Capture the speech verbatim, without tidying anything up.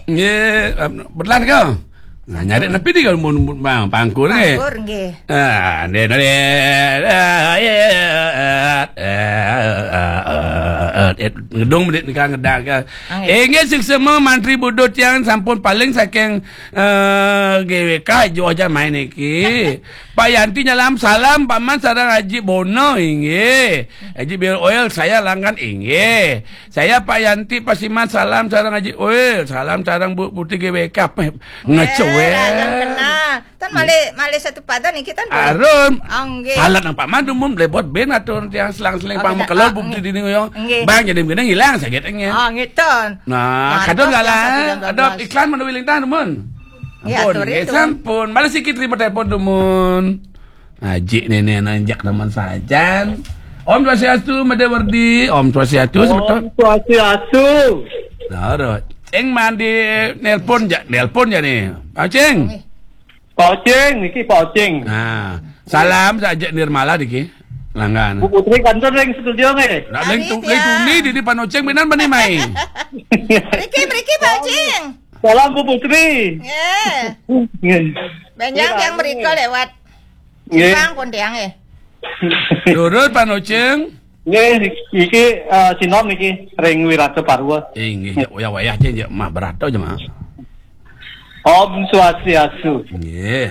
Nggih, betulan kau. Nah, nyari nepi di kalau mun, mun bang pangkur nggih. Pangkur nggih. Ah, nggih, nggih. Ah, iya. Ngedung menit nikah ngedak ke. Nggih. Inggih, suksma mantri budut yang sampun paling saking eh, G W K jo aja main iki. Pak Yanti nyalam salam Pak Man sareng Haji Bono inggih. Haji Bill Oil saya langgan inggih. Saya Pak Yanti Pasiman salam sareng Haji Oil, salam sareng Bu Putih G W K. Peh, ngecewek. Alam kenal. Tan malih malih satu padan iki tan boleh. Arum. Oh, nggih. Palat nang Pak Man dumun blebot ben atur tiang selang-seling. Oh, pang mekelor bukti dini yo. Nggih. Bang jadi kena hilang sakit engnya. Oh, ngiton. Nah, kadon galah. Ada iklan mana wilintang dumun. Ya, ampun, nggih, sampun. Malah sikit terima telepon dumun. Haji nenek nanjak teman sajan. Om Swastiastu, Made Werdi. Om Swastiastu, sebetul. Om Swastiastu. Loro. Ceng mandi nelpon ja, nelpon ja nih. Pak Ceng. Pak Ceng, niki Pak Ceng. Nah, salam saja Nirmala niki. Langgan. Bu Putri kantor ring studio nggih. Nak ling tu, ling tuni di depan Oceng benar bani mai. Mriki, mriki, Pak Ceng. Salam Bu Putri. Nggih. Nggih. Benjang yang mriko lewat. Nggih. Bang pun tiang nggih. Lurus Pak Noceng. Nggih, iki eh, Sinom niki ring Wirata Parwa. Inggih, ya wayah-wayah aja ya mah berat aja mah. Om Swastiastu. Nggih.